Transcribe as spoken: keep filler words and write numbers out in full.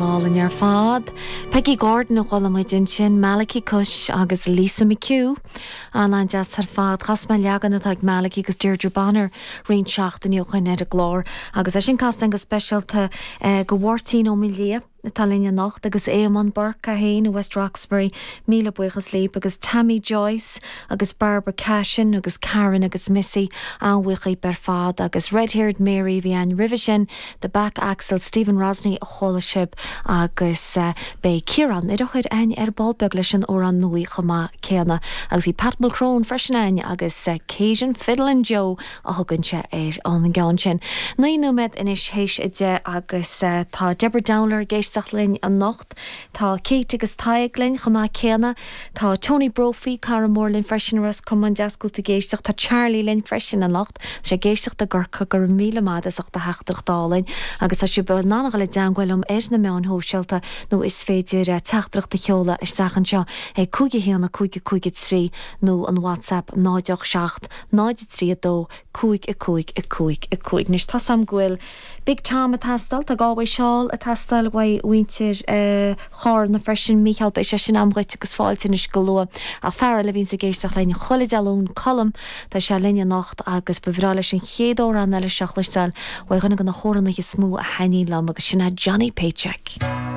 Álainn ar fad. Peggy Gordon a chuala muid ansin, Malachy Cush agus Lisa McHugh. An-an-deas ar fad. Chas mé leagan atá ag Malachy agus Deirdre Bonner roinnt seachtainí ó shin ar an gclár agus é sin casta go speisialta go Mháirtín Ó Maoildhia atá linn anocht agus Éamonn Burke a haon i West Roxbury, míle buíochas libh agus Tammy Joyce agus Barbara Cashin agus Karen agus Missy an-bhuíoch díbh ar fad agus Red-Haired Mary a bhí ann roimhe sin, The Back Axle Stephen Rosney a chuala sibh agus uh, beidh Ciarán Ó hEochaidh againn ar ball beag leis an amhrán nua chomh maith céanna agus bhí Pat Mulcrone freisin againn agus uh, Cajun Fiddle Joe a thugann sé ar an gceann sin. Naoi nóiméad anois théis a deich agus uh, tá Deborah Dowler ag éisteacht linn anocht, Tá Kate agus Tadhg linn chomh maith céanna, Tá Tony Brophy cara mór linn freisin Ros Comáin deascúil ag éisteacht tá Charlie linn freisin anocht, sé ag éisteacht i gCorcaigh go raibh míle maith as ucht a theachtaireacht álainn agus tá sibh in ann dul i dteagmháil liom ar na meáin shóisialta nó is féidir teachtaireacht a sheoladh isteach anseo ag cúig a haon cúig cúig trí nó an WhatsApp náid seacht náid trí dó cúig a cúig a cúig a cúig. Anois tá sam ghfuil Big Tom ag teastáil tá gáhhaid seáil ag teastáil uaidh mhuintir Chárna freisin Mícheál beidh sé sin agam dhuit agus fáilte anois go luath a fear le bhíonn ag éisteacht linn chuile Dé Luain Colm Tá sé linn anocht agus ba bhreá leis an chéad amhrán eile seo a chloisteáil uaidh dhuine de na hamhránaithe is mó a thaitníonn liom agus sin é Johnny Paycheck.